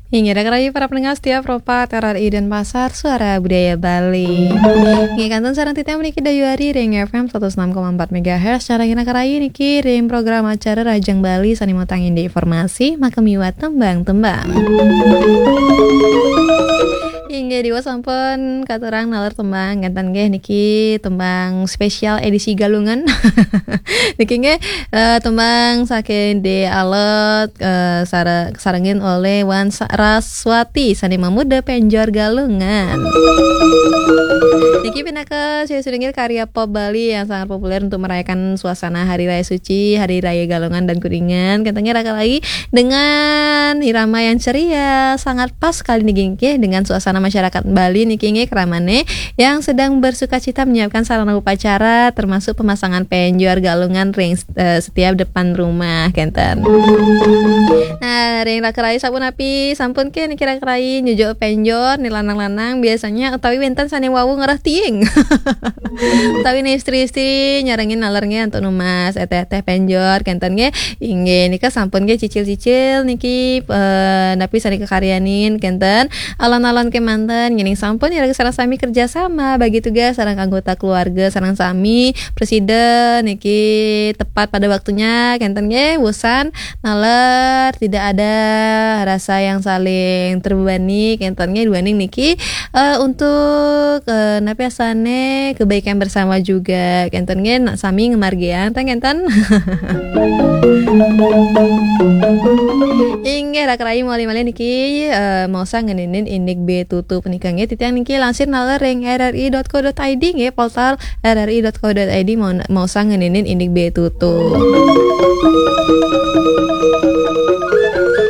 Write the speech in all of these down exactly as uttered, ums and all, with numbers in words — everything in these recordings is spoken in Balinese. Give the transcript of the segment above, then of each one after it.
Inggih, raka rayi para pendengar setia Pro empat R R I Denpasar, Suara Budaya Bali. Inggih, kantun sareng titiang puniki dayuh ari ring F M satus enam koma empat megahertz, sareng raka rayi niki ring program acara Rahajeng Bali sane mautang indik informasi, makamiwah tembang-tembang. Inggih, diwas sampun katurang naler tembang, kenten nggih niki tembang spesial edisi Galungan. Niki nggih, eh, tembang saking D Alet, eh, sare-, sarengin oleh Wan Sa-, Raswati sane mamuda Penjor Galungan. Niki pinaka salah satunggal karya pop Bali yang sangat populer untuk merayakan suasana Hari Raya Suci, Hari Raya Galungan dan Kuningan. Kenten nggih raka rayi dengan irama yang ceria, sangat pas sekali niki nggih dengan suasana masyarakat Bali niki nggih kramane yang sedang bersuka cita menyiapkan sarana upacara, termasuk pemasangan penjor galungan ring, eh, setiap depan rumah, kenten. Nah, ring raka rayi sampun api, sampun ke niki raka rayi nyujuk penjor, ni lanang-lanang biasanya utawi wenten sane wau ngerah tiing. Utawi ni istri-istri nyarengin naler nggih antuk numas eteh-eteh penjor, kenten nggih. Inggih, nika sampun nggih cicil-cicil niki, eh, napi sane kakaryanin, kenten. Alon-alon kemanten, ngening sampun ya sareng sami kerja sama, bagi tugas sareng anggota keluarga, sareng sami presida niki tepat pada waktunya, kenten nggih, wusan naler tidak ada rasa yang saling terbebani, kenten nggih, duaning niki, eh, untuk, eh, napi asane kebaikan bersama juga, kenten nggih, nak sami ngemargiang, teng kenten. Inggih, raka rayi malih-malih niki, eh, maosang ngeninin indik B tutu punika nggih, titiang niki langsir naler ring R R I dot co dot I D nggih, portal R R I dot co dot I D mau, maosang ngeninin indik B tutu.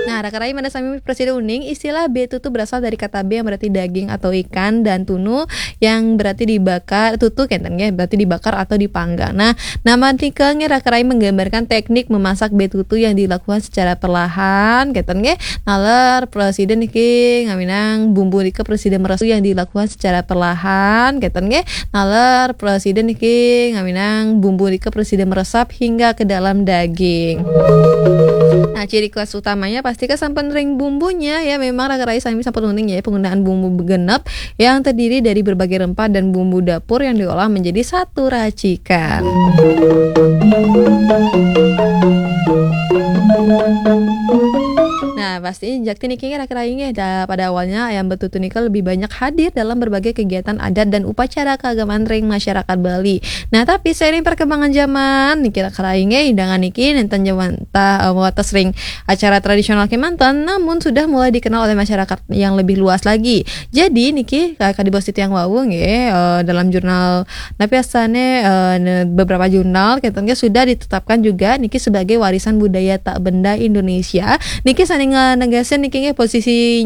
Nah, raka rayi mangda sami prasida uning, istilah B tutu berasal dari kata B yang berarti daging atau ikan dan tunu yang berarti dibakar, tutu kenten nggih, berarti dibakar atau dipanggang. Nah, nama nika nggih raka rayi menggambarkan teknik memasak B tutu yang dilakukan secara perlahan, kenten nggih. Naler prasida niki ngaminang bumbu nika prasida meresap yang dilakukan secara perlahan, kenten nggih. Naler prasida niki ngaminang bumbu nika prasida meresap hingga ke dalam daging. Nah, ciri khas utamanya pasti kesampun ring bumbunya ya. Memang raka rayi sami sampun uning ya, penggunaan bumbu genep yang terdiri dari berbagai rempah dan bumbu dapur yang diolah menjadi satu racikan. Nah, pasti jakti niki raka rayi nggih, da-, pada awalnya ayam betutu nika lebih banyak hadir dalam berbagai kegiatan adat dan upacara keagamaan ring masyarakat Bali. Nah, tapi seiring perkembangan zaman niki raka rayi nggih, hidangan niki nenten jaman tah, eh, wates ring acara tradisional kemanten, namun sudah mulai dikenal oleh masyarakat yang lebih luas lagi. Jadi niki ka-, kadi bos titiang wau nggih, eh, dalam jurnal napi asane, eh, ne-, beberapa jurnal kenten nggih sudah ditetapkan juga niki sebagai warisan budaya tak benda Indonesia. Niki sane nge-, negasin niki nggih posisinya